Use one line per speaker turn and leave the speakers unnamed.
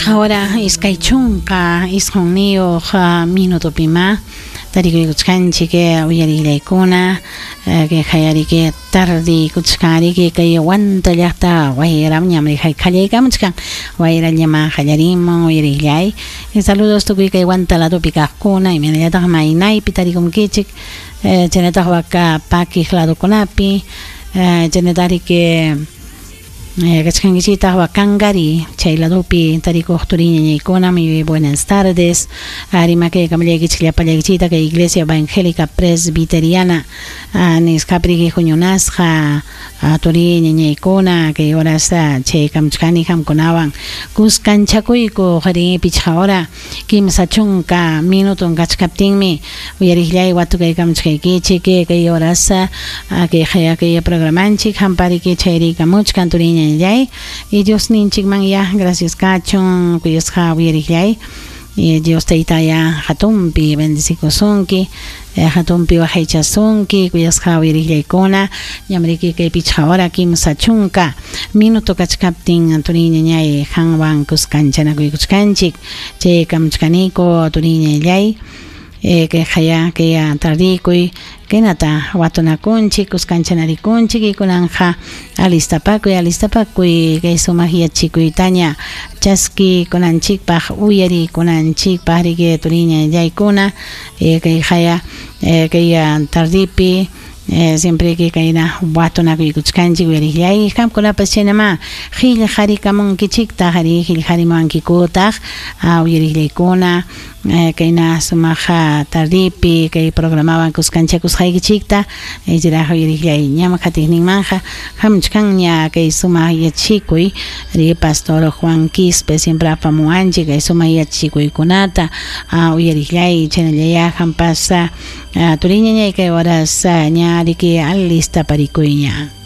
Pichqa hora 29 minutopima tarikuykuchkanchik uyarillaykuna kay hayariki tardiykuchkanriki kay Huanta llaqta wayram ñam qallaykamuchkan wayrallama qallarimun uyarillay. Saludos tukuy kay Huanta ladopi kaqkuna imaynallataq maynaypi tarikunkichik chaynataq waka pakiq ladokunapi chaynatariki kachkankichitaq Wakankari chay ladopi tarikuq turiñañaykuna. Muy buenas tardes. Rimakaykamullaykichik llapallaykichita kay Iglesia Evangélica Presbiteriana nisqapi huñunasqa turiñañaykuna kay horas chaykamuchkani qamkunawan kuskanchakuyku qari 5 hora 30 minuton kachkaptinmi uyariqllay watukaykamuchkaykichik kay horas kay kay programanchik hampariki chayrikamuchkan turiñañallay y Dios ninchikman ya gracias kachun kuyasqa uyariqllay y Dios taytaya hatunpi bendecikusunki hatunpi waqaychasunki kuyasqa uyariqllaykuna ñamriki kay 5 hora 30 minuto kachkaptin turiñañay qanwan kuskanchanakuykuchkanchik chaykamuchkaniku turiñallay kay haya kay tardikuy kaynata watunakunchik kuskanchanarikunchik y kunanja alistapakuy kay sumaq yachikuytaña chaski kunanchikpaq uyarikunanchikpaq riki turiñallaykuna kay haya kay tardipi siempre que kayna watunakuykuchkanchik uyariqllay qamkunapas chaynama qillqarikamunkichiktaq ari qillqarimuwankikutaq uyariqllaykuna kayna sumaq tardipi kay programawan kuskanchakusqaykichikta chayraq uyariqllay ñam qatiqninmanja hamuchkanña kay sumaq yachikuy ri pastor Juan Quispe siempre apamuwanchik kay sumaq yachikuykunata uyariqllay chaynallaya hampas turiñañay kay horas ña riki alistaparikuyña.